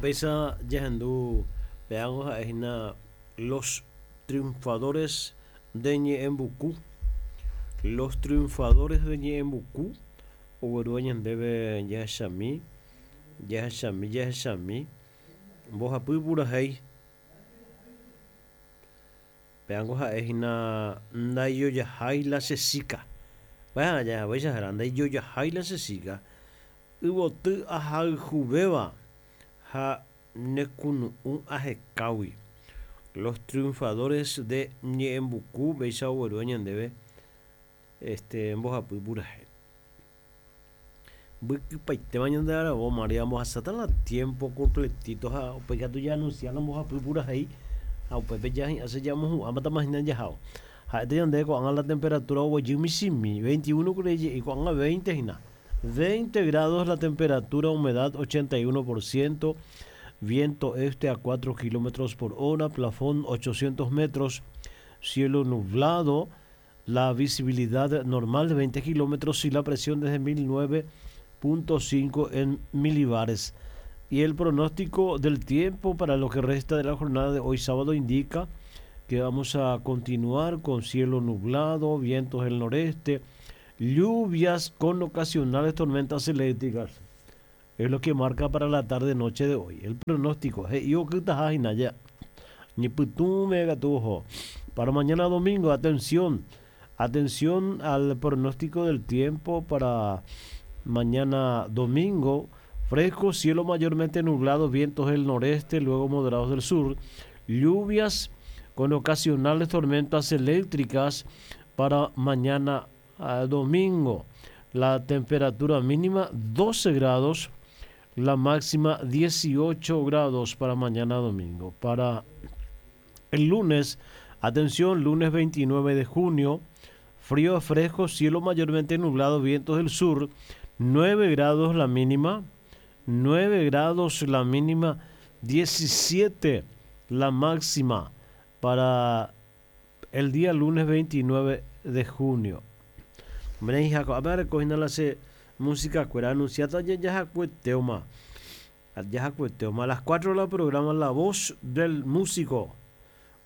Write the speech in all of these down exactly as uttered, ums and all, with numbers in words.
Péicha jahendu péango ha'ehína Los Triunfadores de Ñe'ẽmbuku. Los Triunfadores de Ñe'ẽmbuku oguerúva ñandéve jahechami, jahechami, jahechami mbohapy purahéi. Péango ha'ehína ndaijojahái la che chica. Vaja ndaijojahái la che chica. Yvoty ahayhuvéva ha nekunu'ũ ahekágui. Los Triunfadores de Ñe'ẽmbuku péicha oguerúva ñandéve este mbohapy purahéi. Mbykypaitéma ñande aravo María mbohasáta la tiempo completito ha upéi katu jaanunciar la mbohapy purahéi ha upépe jahi'ãse jamohu'ãmbáta jaháo. Ha'ete ñande ko'ág̃a la temperatura oguejy michĩmi veintiuno kure ko'ág̃a veinte hína. veinte grados la temperatura, humedad ochenta y uno por ciento, viento este a cuatro kilómetros por hora, plafón ochocientos metros, cielo nublado, la visibilidad normal de veinte kilómetros y la presión desde mil nueve punto cinco en milibares. Y el pronóstico del tiempo para lo que resta de la jornada de hoy sábado indica que vamos a continuar con cielo nublado, vientos del noreste, lluvias con ocasionales tormentas eléctricas. Es lo que marca para la tarde-noche de hoy. El pronóstico. Para mañana domingo, atención. Atención al pronóstico del tiempo para mañana domingo. Fresco, cielo mayormente nublado, vientos del noreste, luego moderados del sur. Lluvias con ocasionales tormentas eléctricas para mañana domingo. La temperatura mínima doce grados, la máxima dieciocho grados para mañana domingo. Para el lunes, atención, lunes veintinueve de junio, frío a fresco, cielo mayormente nublado, vientos del sur, nueve grados la mínima, nueve grados la mínima, diecisiete la máxima para el día lunes veintinueve de junio. A ver, música anunciada ya ya a las cuatro la programa La Voz del Músico.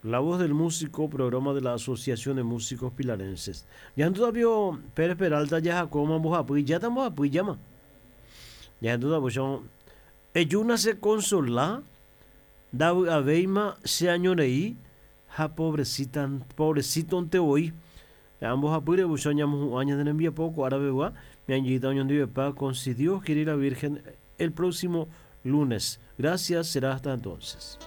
La Voz del Músico, programa de la Asociación de Músicos Pilarenses. Ya todavía Pérez Peralta ya como ya estamos a llama. Ya todavía Eyuna se consola, David Aveima se añoreí, ja pobrecita, pobrecito te voy. Ambos apure busoñamos años de envía poco árabe va mi anjita con si Dios quiere la Virgen el próximo lunes. Gracias, será hasta entonces.